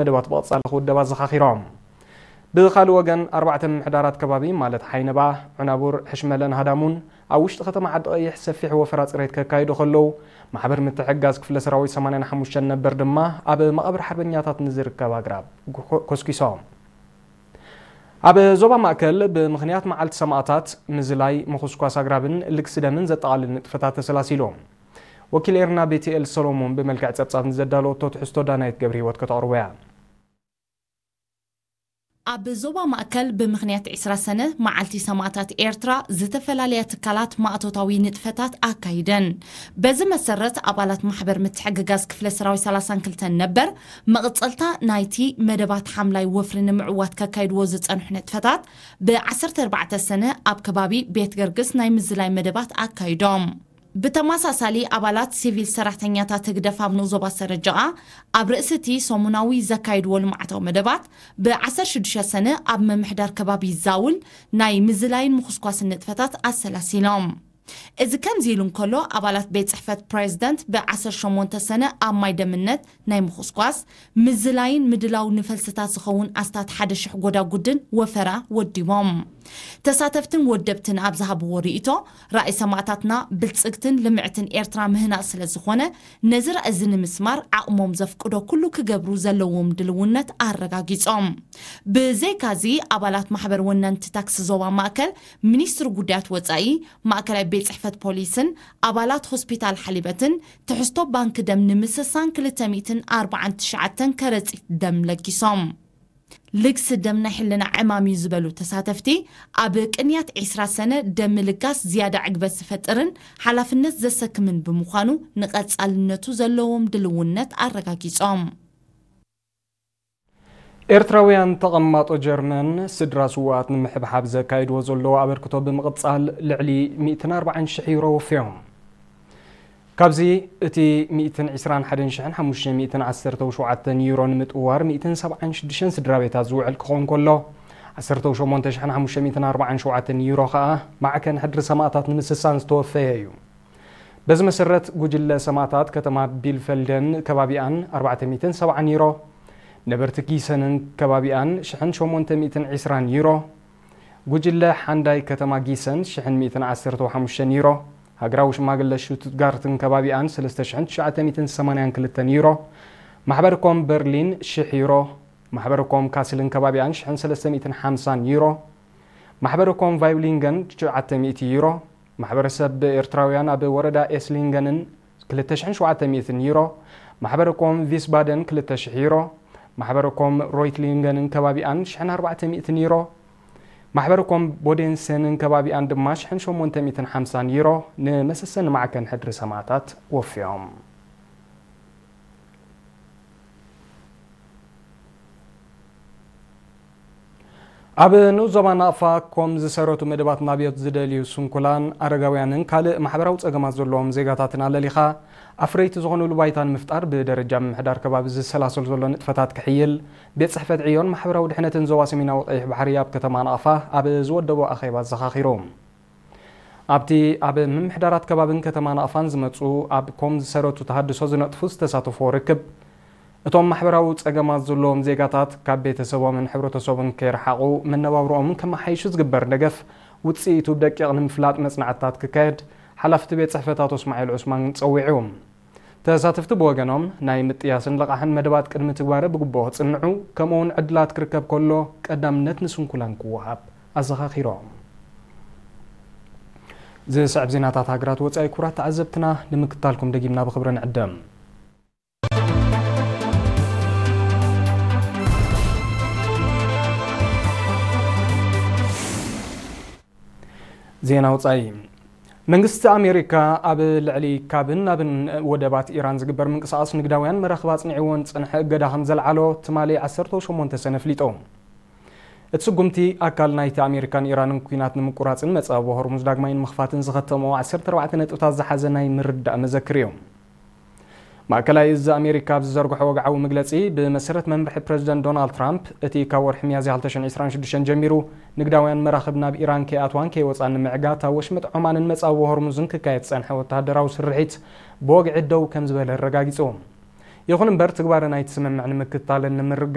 መደባት ብቐጻሊ ክውደብ ኣዘኻኺሮም። ብኻልእ ወገን፣ ኣርባዕተ ምምሕዳራት ከባቢ ማለት ሓይነባ፣ ዑናቡር፣ ሕሽመለን ሃዳሙን ኣብ ውሽጢ ከተማ ዓዲ ቀይሕ ሰፊሕ ወፈራ ጽሬት ከካይዱ ከለዉ፣ ማሕበር ምትሕግጋዝ ክፍለ ሰራዊት ሰማንያን ሓሙሽተን ነበር ድማ ኣብ መቓብር ሓርበኛታት ንዝርከብ ኣግራብ ኮ-፣ ኮስኪሶም። ኣብ ዞባ ማእከል ብምኽንያት መዓልቲ ሰማእታት ምዝላይ፣ ምኹስኳስ ኣግራብን ልግሲ ደምን ዘጠቓልል ንጥፈታት ተሰላሲሉ። ወኪል ኤርና ቤትኤል ሰሎሞን ብመልክዕ ጸብጻብ ንዘዳለወቶ ትሕዝቶ ዳናይት ገብረ ህይወት ከተቕርቦ እያ። ኣብ ዞባ ማእከል ብምኽንያት ዕስራ ሰነ መዓልቲ ሰማእታት ኤርትራ ዝተፈላለያ ትካላት ማእቶታዊ ንጥፈታት ኣካይደን። በዚ መሰረት ኣባላት ማሕበር ምትሕግጋዝ ክፍለ ሰራዊት ሰላሳን ክልተን ነበር መቕጸልታ ናይቲ መደባት ሓምላይ ወፍሪ ንምዕዋት ከካይድዎ ዝጸንሑ ንጥፈታት ብዓሰርተ ኣርባዕተ ሰነ ኣብ ከባቢ ቤት ገርግስ ናይ ምዝላይ መደባት ኣካይዶም። ብተመሳሳሊ ኣባላት ሲቪል ሰራሕተኛታት ህግደፍ ኣብ ንኡስ ዞባ ሰረጀቓ ኣብ ርእሲ እቲ ሰሙናዊ ዘካይድዎ ልምዓታዊ መደባት ብዓሰርተ ሽዱሽተ ሰነ ኣብ ምምሕዳር ከባቢ ዛውል ናይ ምዝላይን ምኹስኳስን ንጥፈታት ኣሰላሲሎም። እዚ ከምዚ ኢሉ እንከሎ፣ ኣባላት ቤት ጽሕፈት ፕሬዝደንት ብዓሰርተ ሸሞንተ ሰነ ኣብ ማይ ደምነት ናይ ምኹስኳስ፣ ምዝላይን ምድላው ንፈልስታት ዝኸውን ኣስታት ሓደ ሽሕ ጎዳጉድን ወፈራ ወዲቦም። ተሳተፍትን ወደብትን ኣብ ዝሃብዎ ርእይቶ፣ ራእይ ሰማእታትና ብልጽግትን ልምዕትን ኤርትራ ምህናጽ ስለ ዝኾነ፣ ነዚ ራእይ እዚ ንምስማር ዓቕሞም ዘፍቅዶ ኩሉ ክገብሩ ዘለዎም ድልውነት ኣረጋጊጾም። ብዘይካዚ፣ ኣባላት ማሕበር ወነንቲ ታክሲ ዞባ ማእከል፣ ሚኒስትሪ ጉዳያት ወጻኢ፣ ማእከላይ ቤት ጽሕፈት ፖሊስን ኣባላት ሆስፒታል ሓሊበትን ትሕዝቶ ባንክ ደም ንምስሳን ክልተ ሚእትን ኣርባዓን ትሽዓተን ከረጺት ደም ለጊሶም። ልግሲ ደም ናይ ሕልና ዕማም እዩ ዝበሉ ተሳተፍቲ፣ ኣብ ቅንያት ዕስራ ሰነ ደም ምልጋስ ዝያዳ ዕግበት ዝፈጥርን ሓላፍነት ዘሰክምን ብምዃኑ ንቐጻልነቱ ዘለዎም ድልውነት ኣረጋጊጾም። ኤርትራውያን ተቐማጦ ጀርመን ስድራ ስውኣት ንምሕብሓብ ዘካይድዎ ዘለዉ ኣበርክቶ ብምቕጻል ልዕሊ ሚእትን ኣርባዓን ሽሕ ዩሮ ወፍዮም። ካብዚ እቲ ሚእትን ዕስራን ሓደን ሽሕን ሓሙሽተ ሚእትን ዓሰርተው ሸውዓተን ዩሮ ንምጥዋር ሚእትን ሰብዓን ሽዱሽተን ስድራ ቤታት ዝውዕል ክኸውን ከሎ፣ ዓሰርተው ሸሞንተ ሽሕን ሓሙሽተ ሚእትን ኣርባዓን ሸውዓተን ዩሮ ከኣ ማዕከን ሕድሪ ሰማእታት ንምስሳን ዝተወፈየ እዩ። በዚ መሰረት፣ ጉጅለ ሰማእታት ከተማ ቢልፈልደን ከባቢኣን ኣርባዕተ ሚእትን ሰብዓን ዩሮ፣ ነበርቲ ጊሰንን ከባቢኣን ሽሕን ሸሞንተ ሚእትን ዕስራን ዩሮ፣ ጉጅለ ሓንዳይ ከተማ ጊሰን ሽሕን ሚእትን ዓሰርተው ሓሙሽተን ዩሮ፣ ሃገራዊ ሽማግለ ሽቱትጋርትን ከባቢኣን ሰለስተ ሽሕን ትሽዓተ ሚእትን ሰማንያን ክልተን ዩሮ፣ ማሕበር ኮም በርሊን ሽሕ ዩሮ፣ ማሕበር ኮም ካስልን ከባቢኣን ሽሕን ሰለስተ ሚእትን ሓምሳን ዩሮ፣ ማሕበር ኮም ቫይብሊንገን ትሽዓተ ሚእቲ ዩሮ፣ ማሕበረሰብ ኤርትራውያን ኣብ ወረዳ ኤስሊንገንን ክልተ ሽሕን ሸውዓተ ሚእትን ዩሮ፣ ማሕበር ኮም ቪስባደን ክልተ ሽሕ ዩሮ፣ ማሕበር ኮም ሮይትሊንገንን ከባቢኣን ሽሕን ኣርባዕተ ሚእትን ዩሮ፣ ማሕበር ኮም ቦዴንሰንን ከባቢኣን ድማ ሽሕን ሸሞንተ ሚእትን ሓምሳን ዩሮ ንመሰሰኒ ማዕከን ሕድሪ ሰማእታት ወፍዮም። ኣብ ንኡስ ዞባ ናቕፋ ኮም ዝሰረቱ መደባት ናብዮት ዝደልዩ ስንኩላን፣ ኣረጋውያንን ካልእ ማሕበራዊ ጸገማት ዘለዎም ዜጋታትን ኣለሊኻ ኣፍረይቲ ዝኾኑሉ ባይታ ንምፍጣር ብደረጃ ምምሕዳር ከባቢ ዝሰላሰል ዘሎ ንጥፈታት ክሕይል ቤት ጽሕፈት ዕዮን ማሕበራዊ ድሕነትን ዞባ ሰሜናዊ ቀይሕ ባሕሪ ኣብ ከተማ ናቕፋ ኣብ ዝወደቦ ኣኼባ ኣዘኻኺሩ። ኣብቲ ኣብ ምምሕዳራት ከባብን ከተማ ናቕፋን ዝመጹ ኣብ ኮም ዝሰረቱ ተሃድሶ ዝነጥፉ ዝተሳተፍዎ ርክብ፣ እቶም ማሕበራዊ ጸገማት ዘለዎም ዜጋታት ካብ ቤተሰቦምን ሕብረተሰቡን ከይረሓቑ መነባብሮኦም ከመሓይሹ ዝግበር ደገፍ ውጽኢቱ ብደቂቕ ንምፍላጥ መጽናዕትታት ክካየድ ሓላፊ እቲ ቤት ጽሕፈት ኣቶ እስማዒል ዑስማን ጸዊዑ። ተሳተፍቲ ብወገኖም፣ ናይ ምጥያስን ልቓሕን መደባት ቅድሚ ትግባረ ብግቡእ ክጽንዑ፣ ከምኡውን ዕድላት ክርከብ ከሎ ቀዳምነት ንስንኩላን ክወሃብ ኣዘኻኺሮም። ዝስዕብ ዜናታት ሃገራት ወጻኢ ክቡራት ተዓዘብትና ንምክታልኩም ደጊምና ብኽብሪ ንዕደም። ዜና ወጻኢ። መንግስቲ ኣሜሪካ ኣብ ልዕሊ ካብን ናብን ወደባት ኢራን ዝግበር ምንቅስቓስ ንግዳውያን መራኽብ ኣጽኒዕዎ ንጸንሐ እገዳ ከም ዘልዓሎ ትማሊ ዓሰርተ ሸሞንተ ሰነ ኣፍሊጡ። እቲ ስጉምቲ ኣካል ናይቲ ኣሜሪካን ኢራንን ኲናት ንምቁራጽን መጻብቦ ሆርሙዝ ዳግማይ ንምኽፋትን ዝኸተምኦ ዓሰርተ ኣርባዕተ ነጥብታት ዝሓዘ ናይ ምርዳእ መዘክር እዩ። ማእከላይ እዚ ኣሜሪካ ኣብ ዝዘርግሖ ወግዓዊ መግለጺ፣ ብመሰረት መምርሒ ፕረዚደንት ዶናልድ ትራምፕ፣ እቲ ካብ ወርሒ ሚያዝያ ክልተ ሽሕን ዕስራን ሽዱሽተን ጀሚሩ ንግዳውያን መራኽብ ናብ ኢራን ከይኣትዋን ከይወጻን ንምዕጋት ኣብ ወሽመጥ ዖማንን መጻብቦ ሆርሙዝን ክካየድ ዝጸንሐ ወተሃደራዊ ስርሒት ብወግዒ ደው ከም ዝበለ ኣረጋጊጹ። ይኹን እምበር ትግባረ ናይቲ ስምምዕ ንምክትታልን ንምርጋ